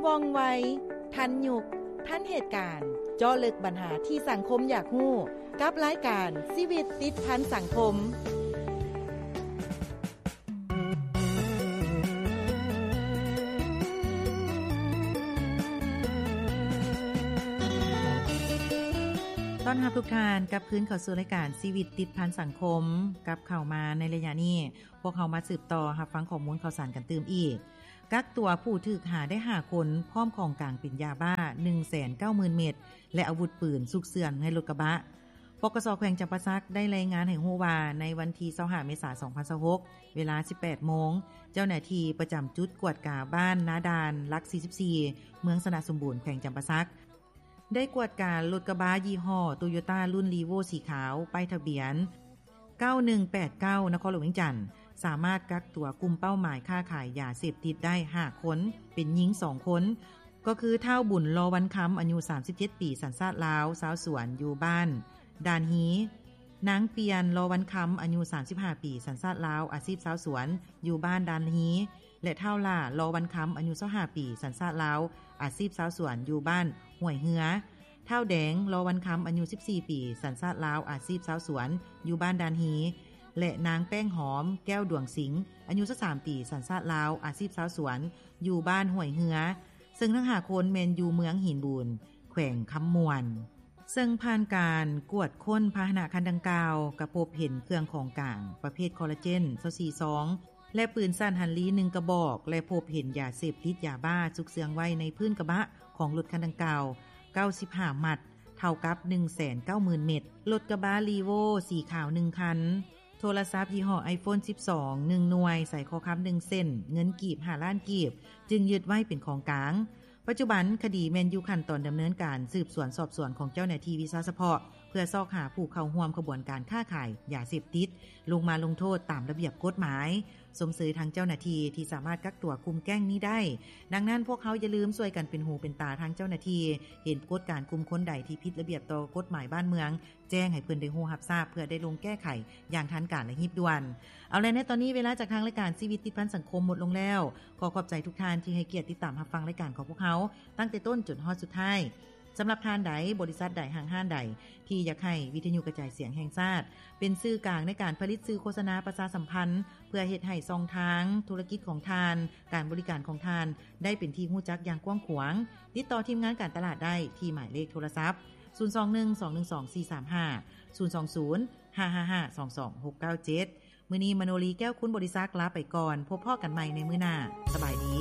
ວ່ອງໄວ, ທັນຍຸກ, ທັນເຫດການ, ເຈາະເລິກບັນຫາທີ່ສັງຄົມຢາກຮູ້ ກັບລາຍການຊີວິດຕິດພັນສັງຄົມ. ຕ້ອນຮັບທຸກທ່ານກັບຄືນເຂົ້າສູ່ລາຍການຊີວິດຕິດພັນສັງຄົມ. ກັບເຂົ້າມາໃນໄລຍະນີ້, ພວກເຮົາມາສືບຕໍ່ຮັບຟັງຂໍ້ມູນຂ່າວສານກັນຕື່ມອີກ. ກັກຕົວຜູ້ຖືກຫາໄດ້ຫ້າຄົນ ພ້ອມຂອງກາງເປັນຢາບ້າໜຶ່ງແສນເກົ້າໝື່ນເມັດ ແລະ ອາວຸດປືນຊຸກເຊື່ອງໃນລົດກະບະ. ປກສ ແຂວງຈຳປາສັກໄດ້ລາຍງານໃຫ້ຮູ້ວ່າ ໃນວັນທີຊາວຫ້າ ເມສາ ສອງພັນຊາວຫົກ ເວລາ ສິບແປດໂມງ, ເຈົ້າໜ້າທີ່ປະຈຳຈຸດກວດກາບ້ານນາດ່ານ ຫຼັກ ສີ່ສິບສີ່ ເມືອງຊະນະສົມບູນ ແຂວງຈຳປາສັກ ໄດ້ກວດກາລົດກະບະຍີ່ຫໍ້ໂຕໂຍຕ້າລຸ້ນ ຣີໂວ້ ສີຂາວ ປ້າຍທະບຽນ ເກົ້າໜຶ່ງແປດເກົ້າ ນະຄອນຫຼວງວຽງຈັນ ສາມາດກັກຕົວກຸ່ມເປົ້າໝາຍຄ້າຂາຍຢາເສບຕິດໄດ້ຫ້າຄົນ, ເປັນຍິງສອງຄົນ ກໍຄື ທ້າວ ບຸນ ລໍວັນຄຳ ອາຍຸ ສາມສິບເຈັດປີ ສັນຊາດລາວ ຊາວສວນ ຢູ່ບ້ານດ່ານຮີ, ນາງ ປ່ຽນ ລໍວັນຄຳ ອາຍຸ ສາມສິບຫ້າປີ ສັນຊາດລາວ ອາຊີບຊາວສວນ ຢູ່ບ້ານດ່ານຮີ ແລະ ທ້າວ ຫຼ້າ ລໍວັນຄຳ ອາຍຸ ຊາວຫ້າປີ ສັນຊາດລາວ ອາຊີບຊາວສວນ ຢູ່ບ້ານຫ້ວຍເຮືອ, ທ້າວ ແດງ ລໍວັນຄຳ ອາຍຸ ສິບສີ່ປີ ສັນຊາດລາວ ອາຊີບຊາວສວນ ຢູ່ບ້ານດ່ານຮີ ແລະ ນາງ ແປ້ງຫອມ ແກ້ວດວງສິງ ອາຍຸ ຊາວສາມປີ ສັນຊາດລາວ ອາຊີບຊາວສວນ ຢູ່ບ້ານຫ້ວຍເຮືອ, ເຊິ່ງທັງຫ້າຄົນແມ່ນຢູ່ເມືອງຫີນບູນ ແຂວງຄຳມ່ວນ. ເຊິ່ງຜ່ານການກວດຄົ້ນພາຫະນະຄັນດັ່ງກ່າວ ກະພົບເຫັນເຄື່ອງຂອງກາງປະເພດຄໍລາເຈນ ຊາວສີ່ຊອງ ແລະ ປືນສັ້ນຮັນລີໜຶ່ງກະບອກ ແລະ ພົບເຫັນຢາເສບຕິດຢາບ້າຊຸກເຊື່ອງໄວ້ໃນພື້ນກະບະຂອງລົດຄັນດັ່ງກ່າວ ເກົ້າສິບຫ້າມັດ ເທົ່າກັບໜຶ່ງແສນເກົ້າໝື່ນເມັດ, ລົດກະບະຣີໂວ້ສີຂາວໜຶ່ງຄັນ, ໂທລະສັບຍີ່ຫໍ້ໄອໂຟນສິບສອງໜຶ່ງໜ່ວຍ, ສາຍຄໍຄຳໜຶ່ງເສັ້ນ, ເງິນກີບຫ້າລ້ານກີບ ຈຶ່ງຍຶດໄວ້ເປັນຂອງກາງ. ປັດຈຸບັນຄະດີແມ່ນຢູ່ຂັ້ນຕອນດຳເນີນການສືບສວນສອບສວນຂອງເຈົ້າໜ້າທີ່ວິຊາສະເພາະ ເພື່ອຊອກຫາຜູ້ເຂົ້າຮ່ວມຂະບວນການຄ້າຂາຍຢາເສບຕິດ ລົງມາລົງໂທດຕາມລະບຽບກົດໝາຍ, ຊົມເຊີຍທາງເຈົ້າໜ້າທີ່ທີ່ສາມາດກັກຕົວກຸ່ມແກ້ງນີ້ໄດ້. ດັ່ງນັ້ນ, ພວກເຮົາຢ່າລືມຊ່ວຍກັນເປັນຫູເປັນຕາທາງເຈົ້າໜ້າທີ່, ເຫັນກົດການກຸ່ມຄົນໃດທີ່ຜິດລະບຽບຕໍ່ກົດໝາຍບ້ານເມືອງ, ແຈ້ງໃຫ້ເພິ່ນໄດ້ຮູ້ຮັບຊາບ ເພື່ອໄດ້ລົງແກ້ໄຂຢ່າງທັນການ ແລະ ຮີບດ່ວນ. ເອົາລະ, ໃນຕອນນີ້ເວລາຈາກທາງລາຍການຊີວິດຕິດພັນສັງຄົມໝົດລົງແລ້ວ. ຂໍຂອບໃຈທຸກທ່ານທີ່ໃຫ້ກຽດຕິດຕາມຮັບຟັງລາຍການຂອງພວກເຮົາ ຕັ້ງແຕ່ຕົ້ນຈົນຮອດສຸດທ້າຍ. ສຳລັບທ່ານໃດ, ບໍລິສັດໃດ, ຫ້າງຮ້ານໃດ ທີ່ຢາກໃຫ້ວິທະຍຸກະຈາຍສຽງແຫ່ງຊາດ ເປັນສື່ກາງໃນການຜະລິດສື່ໂຄສະນາປະຊາສຳພັນ ເພື່ອເຮັດໃຫ້ຊ່ອງທາງທຸລະກິດຂອງທ່ານ, ການບໍລິການຂອງທ່ານ ໄດ້ເປັນທີ່ຮູ້ຈັກຢ່າງກວ້າງຂວາງ, ຕິດຕໍ່ທີມງານການຕະຫຼາດໄດ້ທີ່ໝາຍເລກໂທລະສັບ ສູນສອງໜຶ່ງ ສອງໜຶ່ງສອງ ສີ່ສາມຫ້າ, ສູນສອງສູນ ຫ້າຫ້າຫ້າ ສອງສອງ ຫົກເກົ້າເຈັດ. ມື້ນີ້ ມະໂນລີ ແກ້ວຄຸນບໍລິສັກ ລາໄປກ່ອນ. ພົບພໍ້ກັນໃໝ່ໃນມື້ໜ້າ. ສະບາຍດີ.